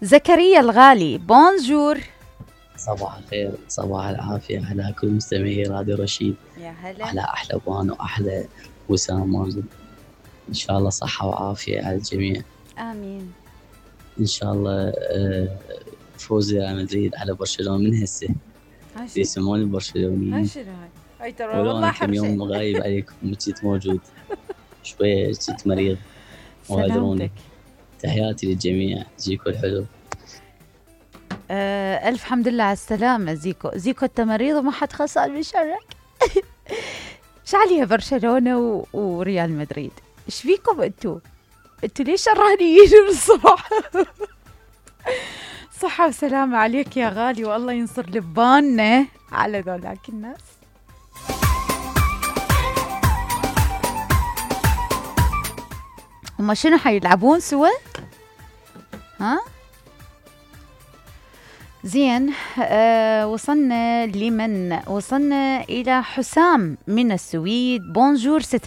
زكريا الغالي بونجور. صباح الخير، صباح العافية على كل مستمعي راديو رشيد. يا هلا. على أحلى بان وأحلى وسام مازن. إن شاء الله صحة وعافية على الجميع. آمين. إن شاء الله فوز ريال مدريد على برشلونة من هسه. يسموني برشلونيين. هاي ترى والله كم يوم غايب عليكم وجيت موجود. شوية جيت مريض. سلامتك. تحياتي للجميع. زيكو الحلو. ألف حمد لله على السلامة زيكو أنت مريض وما حد خسر بشرك. شعليها برشلونة وريال مدريد، إيش فيكم أنتوا ليش شرانيين من الصبح؟ صحة وسلامة عليك يا غالي، والله ينصر لباننا على ذولاك الناس. هما شنو حيلعبون سوا؟ ها؟ زين. وصلنا إلى حسام من السويد. بونجور ست